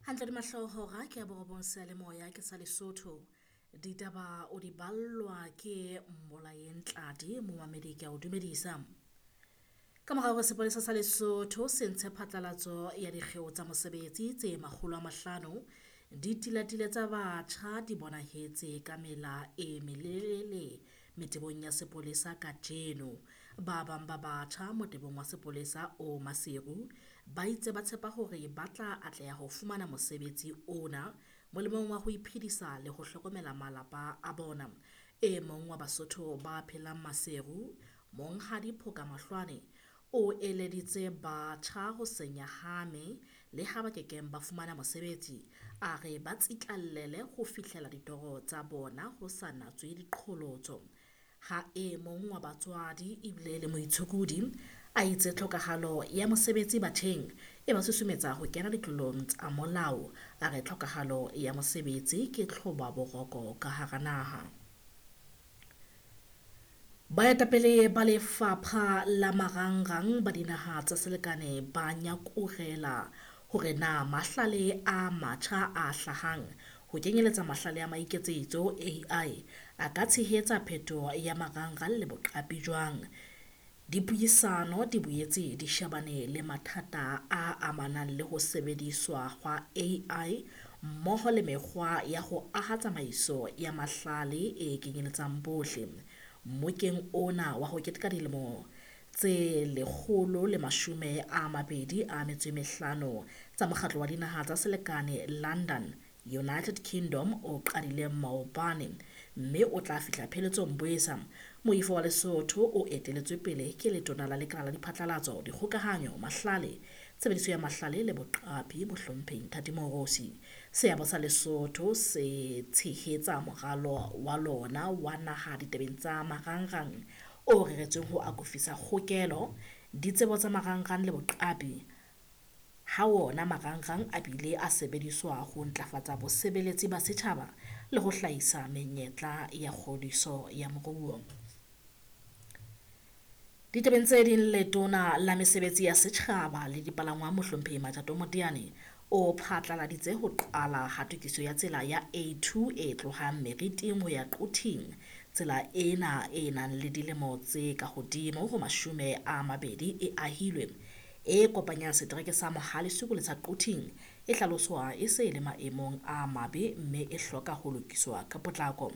Hantle di mahlohora ke ya borobong seyalemoya ke sa Lesotho. Ditaba o di ballwa ke Mmolayeng Tladi, momamedi ke a o dumedisa. Ka mora hore sepolesa sa Lesotho se ntshe phatlalatso ya dikgeo tsa mosebetsi tse 500, ditilatile tsa batjha di bonahetse ka mela e melelele metebong ya sepolesa kajeno. Ba bang ba batjha motebong wa sepolesa o Maseru ba itse ba tshepa hore ba tla atleha ho fumana mosebetsi ona molemong wa ho iphedisa le ho hlokomela malapa a bona. E mong wa Basotho ba phelang Maseru, Monghadi Phoka Mahlwane, o eleditse batjha ho se nyahame le ha ba kekeng ba fumana mosebetsi. A re ba tsitlallele ho fihlela ditoro tsa bona ho sa natswe diqholotso. Ha e mong wa batswadi ebile le moitshokodi a itse tlhokahalo ya mosebetsi batjheng e ba susumetsa ho kena ditlolong tsa molao. A re tlhokahalo ya mosebetsi ke tlhoba boroko ka hara naha. Baetapele ba lefapha la marangrang ba dinaha tsa selekane ba nyakurela hore na mahlale a matjha a hlahang ho kenyeletsa mahlale a maiketsetso AI a ka tshehetsa phetoho ya marangrang le boqapi jwang. Dipuisano di boetse di shebane le mathata a amanang le ho sebediswa hwa AI mmoho le mekgwa ya ho aha tsamaiso ya mahlale e kenyeletsang bohle. Mmokeng ona wa ho keteka dilemo tse 125 tsa Mokgatlo wa Dinaha tsa Selekane London, United Kingdom o qadileng maobane mme o tla fihla pheletsong Bwesa. Moifo wa Lesotho o eteletswe pele ke letona la Lekala la Diphatlalatso, Dikgokahanyo, Mahlale, Tshebediso ya Mahlale le Boqapi, Mohlomphehi Nthati Moorosi. Seabo sa Lesotho se tshehetsa moralo wa lona wa naha ditabeng tsa marangrang o reretsweng ho akofisa kgokelo, ditsebo tsa marangrang le boqapi, ha wona marangrang a bile a sebediswa ho ntlafatsa bosebeletsi ba setjhaba le ho hlahisa menyetla ya kgodiso ya moruo. Ditabeng tse ding, letona la mesebetsi ya setjhaba le dipalangwang Mohlomphehi Matjato Moteane o phatlaladitse ho qala ha tokiso ya tsela ya A2 e tlohang Meriting ho ya Quthing. Tsela ena e nang le dilemo tse ka hodimo ho 20 e ahilwe, e kopanyang setereke sa Mohale'shoek le sa Quthing, e hlaloswa e se e le maemong a mabe mme e hloka ho lokiswa ka potlako.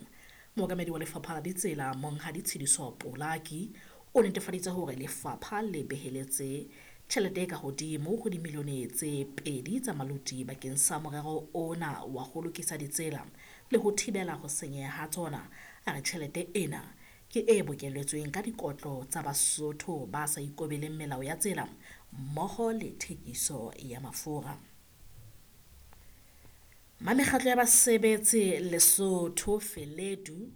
Mookamedi wa lefapha la ditsela Monghadi Tshidiso Polaki o netefaditse hore lefapha le beheletse tjhelete e ka hodimo ho dimilione tse 2 tsa maluti bakeng sa morero ona wa ho lokisa ditsela le ho thibela ho senyeha ha tsona. A re tjhelete ena ke e bokelletsweng ka dikotlo tsa Basotho ba sa ikobeleng melao ya tsela mmoho le thekiso ya mafura. Mamekgatlo ya basebetsi Lesotho Feledu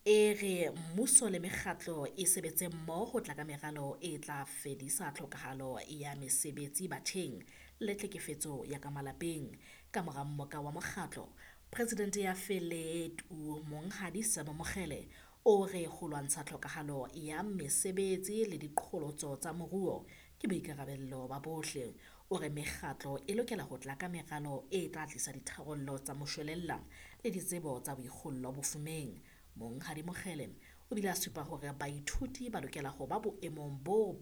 e re mmuso le mekgatlo e sebetse mmoho ho tla ka meralo e tla fedisa tlhokahalo ya mesebetsi batjheng le tlhekefetso ya ka malapeng. Ka mora mmoka wa mokgatlo, Presidente ya Feledu Monghadi Sello Mokgele o re ho lwantsha tlhokahalo ya mesebetsi le diqholotso tsa moruo ke boikarabello ba bohle. O re mekgatlo e lokela ho tla ka meralo e tla tlisa ditharollo tsa moshwelella le ditsebo tsa boikgollo bofumeng. Monghadi Mokgele o bile a supa hore baithuti ba lokela ho ba boemong boo ba